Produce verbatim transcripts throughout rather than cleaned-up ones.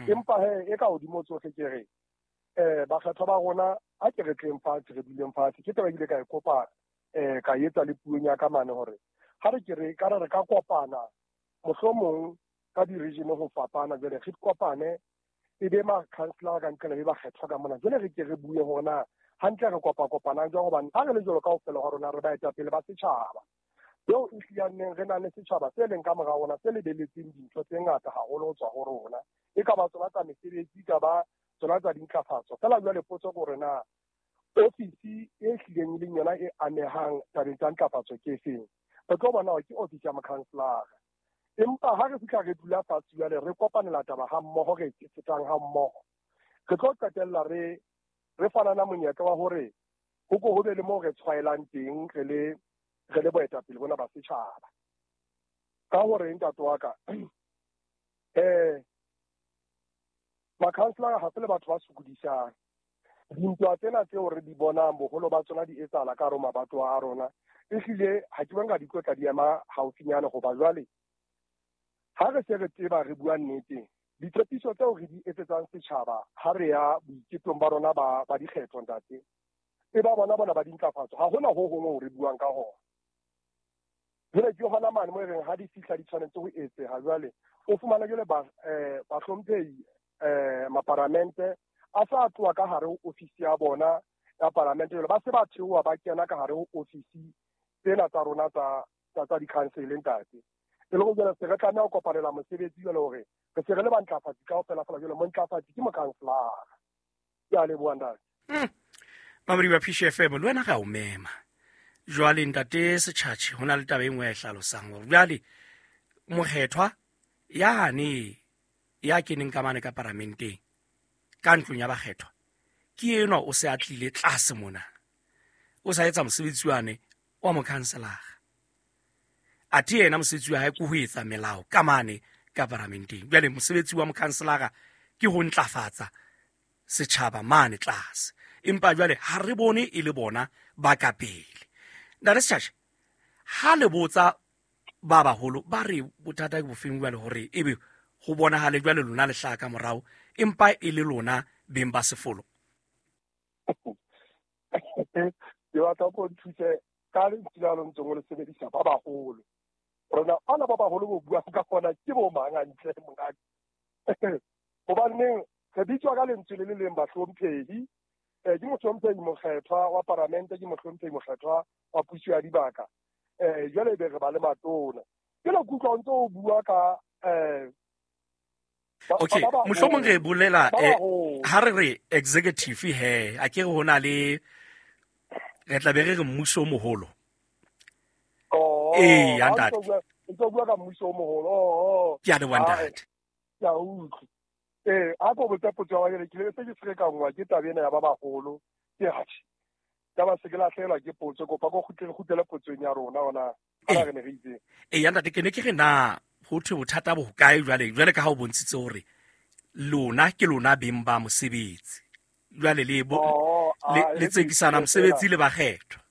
Empa he e ka hodimo tsohle ke re eh bakgethwa ba rona a ke re tleng fatshe, re duleng fatshe. Ke taba ile ka e kopa eh ka etsa le puong ya ka mane hore ha re ke re ka re re ka kopana mohlomong ka di-region ho fapana, jwale re kopane e be ma-councillor ka ntle le bakgethwa ka mona, jwale re ke re bue hore na hantle re kopa-kopanang jwang, hobane ha re le jwalo kaofela ha rona re baetapele ba setjhaba eo e hlileng re na le setjhaba se leng ka mora rona se lebeletseng dintho tse ngata haholo ho tswa ho rona, e ka ba tsona tsa mesebetsi, e ka ba tsona tsa dintlafatso. Feela jwale potso ke hore na ofisi e hlileng e leng yona e amehang tabeng tsa ntlafatso ke efeng. Re tlo bona hore ke ofisi ya mokhanselara, empa ha re fihla re dula fatshe jwale re kopanela taba ha mmoho, re tsetang ha mmoho, re tlo qetella re re fanana monyetla wa hore ho ko ho be le moo re tshwaelang teng re le re le boetapele bona ba setjhaba. Ka hore ntate wa ka eh makhanselara ha se le batho ba sokodisang. Dintwa tsena tseo re di bonang boholo ba tsona di etsahala ka hare ho mabatowa a rona, ehlile ha ke bona di tlo tla di ema haufinyane, hoba jwale ha re se re tseba re bua nnete, ditshepiso tseo re di etsetsang setjhaba ha re ya boiketong ba rona ba ba dikgetho ntate, e ba bona bona ba dintlafatso, ha hona ho hong ho re buang ka hona. Jwale ke hona mane mo e reng ha di fihla di tshwanetse ho etseha, jwale o fumana jwale ba eh bahlomphehi eh maparamente a sa tloha ka hare ho ofisi ya bona ya paramente, jwale ba se ba theoha ba kena ka hare ho ofisi tsena tsa rona tsa tsa tsa di-council ntate. E le hore jwale se re tlameha ho kopanela mosebetsi jwale hore re se re le bantlafatsi kaofela fela, jwale montlafatsi ke mokhanselara. Ke a leboha ntate. Mamedi wa P F M, le wena re a o mema. Jwale ntate Setjhatjhe, ho na le taba e nngwe e hlalosang hore jwale mokgethwa yane ya keneng ka mane ka paramenteng ka ntlong ya bakgethwa ke enwa o se a tlile tlase mona, o sa etsa mosebetsi wane wa mokhanselara, athe yena mosebetsi wa hae ke ho etsa melao ka mane ka paramenteng. Jwale mosebetsi wa mokhanselara ke ho ntlafatsa setjhaba mane tlase, empa jwale ha re bone e le bona ba ka pele. Ntate Setjhatjhe, ha le botsa ba baholo ba re bothata ke bofeng jwale hore ebe ho bonahale jwale lona le hlaha ka morao empa e le lona beng ba sefolo? Ke batla ko nthuse ka lentswe la lo ntseng o le sebedisa ba baholo. Rona ana ba baholo bo bua ka gona ke bo mang hantle mongaka? Hobaneng re bitswa ka lentswe le le leng bahlomphehi, eh ke mohlomphehi mokgethwa wa paramente, ke mohlomphehi mokgethwa wa puso ya dibaka, eh jwale be re ba le matona. Ke le kutlwa o ntse o bua ka eh okay, mohlomong re bolela eh ha re re executive he a ke re hona le re tla be re re mmuso o moholo. Oh, eh ya ntate, o bua ka mmuso o moholo. Oh, ke a leboha ntate. Ke a utlwa. Eh a ko botsa potso ya ke le se ke ferekangwa ke taba ena ya ba baholo. Ke hatjhe taba se ke lahlehelwa ke potso, kopa ko kgutlele kgutlele potsong ya rona hona ha re ne re itse. Eh ya ntate, ke ne ke re na ho thwe bothata bo hokae jwale jwale ka ha o bontshitse hore lona ke lona beng ba mosebetsi, jwale le bo le tsekisana mosebetsi le bakgethwa.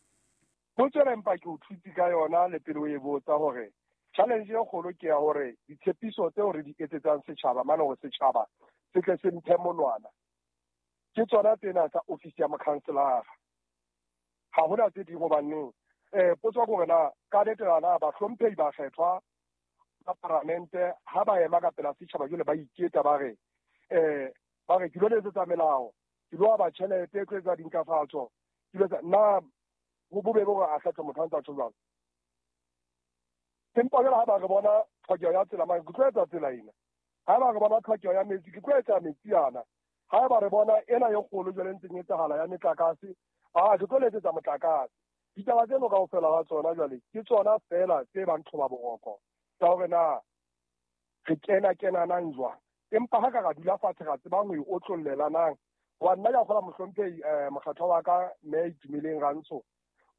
Potso ena empa ke o thutse ka yona le pele o e botsa hore challenge e kgolo ke ya hore ditshepiso tseo re di etsetsang setjhaba mane hore setjhaba se tle se mphe monwana ke tsona tsena tsa ofisi ya mokhanselara. Ha hona tse ding hobaneng eh potso ke hore na ka nnete na bahlomphehi bakgethwa ba paramente ha ba ema ka pela setjhaba jwale ba iketa ba re eh ba re ke lo letsetsa melao, ke lo aba tjhelete e tlo etsa dintlafatso, ke lo etsa na ho bobebe hore a kgethe motho a ntse a tjho jwalo. Empa jwale ha ba re bona tlhokeho ya tsela mane, ke tlo etsa tsela ena. Ha ba re bona tlhokeho ya metsi, ke tlo etsa metsi ana. Ha ba re bona ena e kgolo jwale e ntseng e etsahala ya metlakase, ah ke tlo letsetsa motlakase. Ditaba tseno kaofela ha tsona jwale ke tsona feela tse bang thoba boroko tsa hore na re kena kenanang jwang. Empa ha ka ra dula fatshe ra tsebang ho e otlollelanang, wa nna ka kgola mohlomphehi eh mokgatho wa ka mme Itumeleng Rantsho,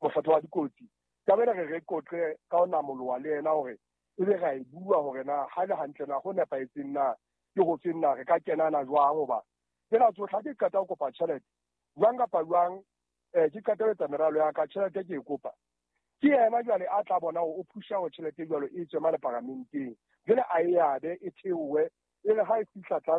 mokgatho wa dikotsi, taba ena re re qoqe ka ho namoloha le yena hore ebe ra e bua hore na ha le hantle na ho nepahetseng na ke ho feng na re ka kenana jwang, hoba tsena tsohle ha ke qeta ho kopa tjhelete jwang kapa jwang eh ke qeta ho etsa meralo ya ka, tjhelete ke e kopa ke yena jwale a tla bona hore o phusha hore tjhelete jwalo e tswe mane paramenteng, jwale a e abe e theohe e re ha e fihla tlase